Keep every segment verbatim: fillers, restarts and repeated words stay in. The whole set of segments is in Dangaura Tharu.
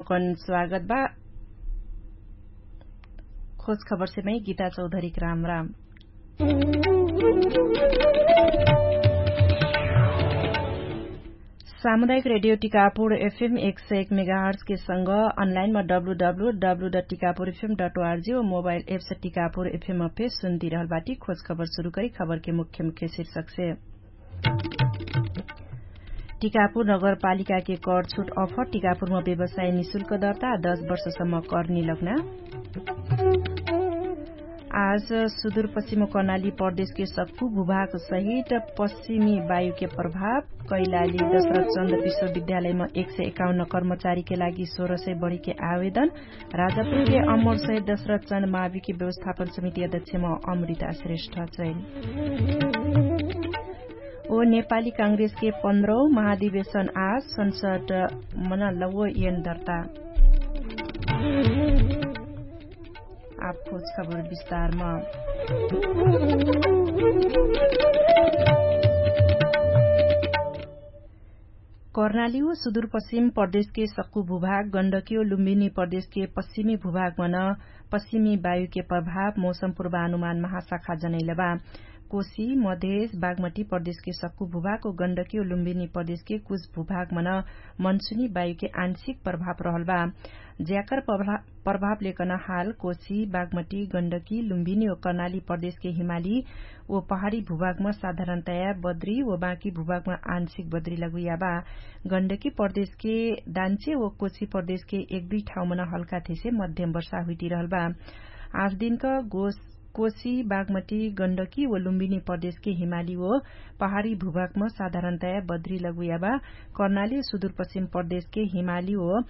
कन स्वागत बा। खोज खबरसे मै गीता चौधरीक राम राम। सामुदायिक रेडियो टिकापुर एफएम एक सय एक मेगाहर्सके संग अनलाइनमा W W W dot Tikapur FM dot ORG व मोबाइल एप्स टिकापुर एफएम अफे सुन्तिरहल बाटी। खोज खबर सुरु करी खबरके मुख्य मुख्य शिर्षकसे। टिकापुर नगरपालिकाके कर छुट अफर टिकापुरमा व्यवसाय निशुल्क दर्ता दश वर्षसम्म कर निलग्ना। आज सुदूरपश्चिम कर्णाली प्रदेशके सक्कु भूभाग सहित पश्चिमी वायुके प्रभाव। कैलाली दशरथ चन्द विश्वविद्यालयमा एक सय एकाउन्न कर्मचारीके लागि सोह्र सय बढीके आवेदन। राजापुरके अमर सहित दशरथ चन्द माविके व्यवस्थापन समिति अध्यक्षमा अमृता श्रेष्ठ चैन। ओ नेपाली काङ्ग्रेसके पन्ध्रौ महाधिवेशन आज संसद मनलौ एन दर्ता। आप खोज खबर विस्तारमा। कर्णाली व सुदूरपश्चिम प्रदेशके सक्कु भूभाग गण्डकी व लुम्बिनी प्रदेशके पश्चिमी भूभागमन पश्चिमी वायुके प्रभाव मौसम पूर्वानुमान महाशाखा जनैलबा। कोशी मधेश बागमटी प्रदेशके सक्कु भूभाग व गण्डकी व लुम्बिनी प्रदेशके कुछ भूभागमन मनसुनी वायुके आंशिक प्रभाव रहलबा। ज्याकर प्रभाव लेकन हाल कोशी बागमटी गण्डकी लुम्बिनी व कर्णाली प्रदेशके हिमाली व पहाडी भूभागम साधारणतया बद्री व बाँकी भूभागम आंशिक बद्री लगुइयाबा। गण्डकी प्रदेशके दान्चे व कोशी प्रदेशके एक दुई ठाउँमन हल्का थेसे मध्यम वर्षा हुइटिरहलबा। आठ दिनक गोस कोशी बागमटी गण्डकी व लुम्बिनी प्रदेशके हिमाली व पहाडी भूभागम साधारणतया बद्री लगुइयाबा। कर्णाली सुदूरपश्चिम प्रदेशके हिमाली व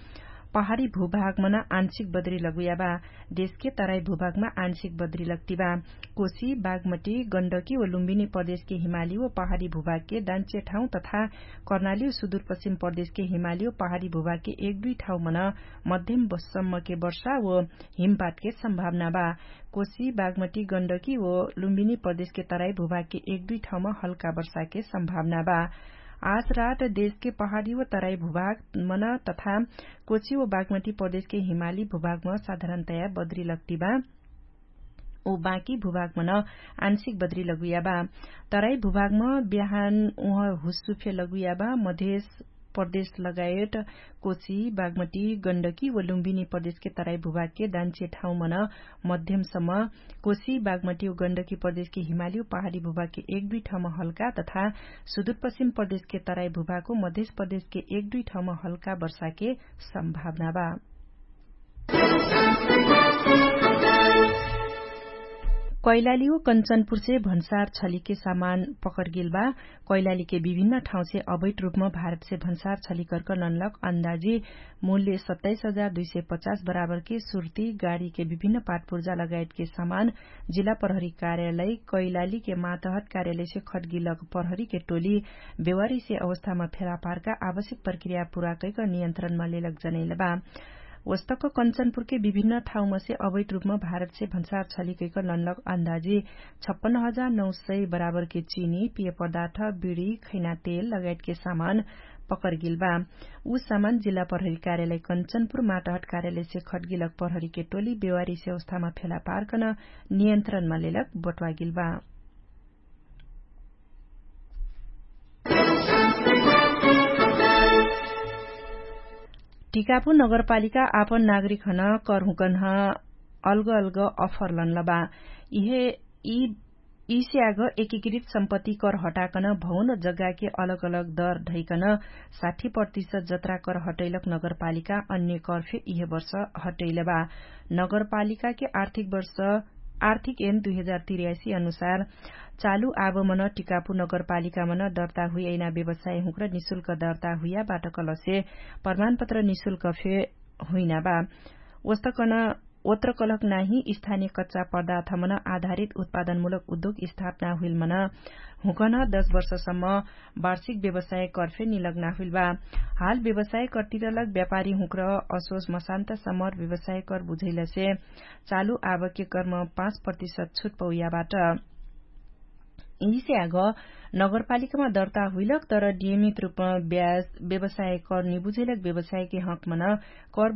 पहाडी भूभागमन आंशिक बद्री लगुइयाबा। देशके तराई भूभागमा आंशिक बद्री लग्टिबा। कोशी बागमटी गण्डकी व लुम्बिनी प्रदेशके हिमाली व पहाडी भूभागके दान्चे ठाउँ तथा कर्णाली व सुदूरपश्चिम प्रदेशके हिमाली व पहाडी भूभागके एक दुई ठाउँमन मध्यम सम्मके वर्षा व हिमपातके सम्भावना बा। कोशी बागमटी गण्डकी व लुम्बिनी प्रदेशके तराई भूभागके एक दुई ठाउँमा हल्का वर्षाके सम्भावना बा। आज रात देशके पहाडी व तराई भूभागमन तथा कोशी व बागमटी प्रदेशके हिमाली भूभागम साधारणतया बद्री लग्टिबा। उ बाँकी भूभागमन आंशिक बद्री लगुइयाबा। तराई भूभागम बिहान उह हुस्सुफे लगुइयाबा। मधेश प्रदेश लगायत कोशी बागमटी गण्डकी व लुम्बिनी प्रदेशके तराई भूभागके दान्चे ठाउँमन मध्यमसम्म कोशी बागमटी व गण्डकी प्रदेशके हिमाली व पहाडी भूभागके एक दुई ठाउँम हल्का तथा सुदूरपश्चिम प्रदेशके तराई भूभागको मधेश प्रदेशके एक दुई ठाउँम हल्का वर्षाके सम्भावना बा। कैलाली व कन्चनपुरसे भन्सार छलिके सामान पकरगेल बा। कैलालीके विभिन्न ठाउँसे अवैध रूपमा भारतसे भन्सार छलिकरक ननलक अन्दाजी मूल्य सत्ताइस हजार दुई सय पचास बराबरके सुर्ती गाडीके विभिन्न पाटपुर्जा लगायतके सामान जिल्ला प्रहरी कार्यालय कैलालीके मातहत कार्यालयसे खटगिलक प्रहरीके टोली बेवारीसे अवस्थामा फेलापारका आवश्यक प्रक्रिया पुरा कैक नियन्त्रणमा लेलक जनैलबा। वस्तक कन्चनपुरके विभिन्न ठाउँमसे अवैध रूपमा भारतसे भन्सार छलिकैक ननलक अन्दाजी छप्पन्न हजार नौ सय बराबरके चिनी पिय पदार्थ बिडी खैना तेल लगायतके सामान पकरगेल बा। उ सामान जिल्ला प्रहरी कार्यालय कन्चनपुर माटहट कार्यालयसे खटगिलक प्रहरीके टोली बेवारीसे अवस्थामा फेलापारकन नियन्त्रणमा लेलक बटवागेल बा। टिकापुर नगरपालिका आपन नागरिक हन करहुँकन्ह अलग अलग अफर लन्लबा। इहे यिसे आग एकीकृत सम्पत्ति कर हटाकन भौन जग्गाके अलग अलग दर ढैकन साठी प्रतिशत जत्रा कर हटैलक नगरपालिका अन्य करफे इहे वर्ष हटैलबा। नगरपालिकाके आर्थिक वर्ष आर्थिक एन दुई हजार तिर्यासी अनुसार चालु आबमन टिकापु नगरपालिकामन दर्ता हुइयैना व्यवसाय हुँक्र निशुल्क दर्ता हुइया बाटकलसे प्रमाणपत्र निशुल्क फे हुइना बा। ओस्तकन ओत्रकलक नाही स्थानिय कच्चा पदार्थमन आधारित उत्पादनमुलक उद्योग स्थापना हुइलमन हुँकन दश वर्षसम्म वार्षिक व्यवसाय कर्फे निलग्ना हुइलबा। हाल व्यवसाय कर्तिरलक व्यापारी हुँक्र असोस मसान्त सम्मर व्यवसाय कर बुझैलसे चालु आवके कर्म पाँच प्रतिशत छुट पौयाबाट। यिसे आग नगरपालिकामा दर्ता हुइलक तर नियमित रूपमा ब्याज व्यवसाय कर निबुझैलक व्यवसायके हकमन कर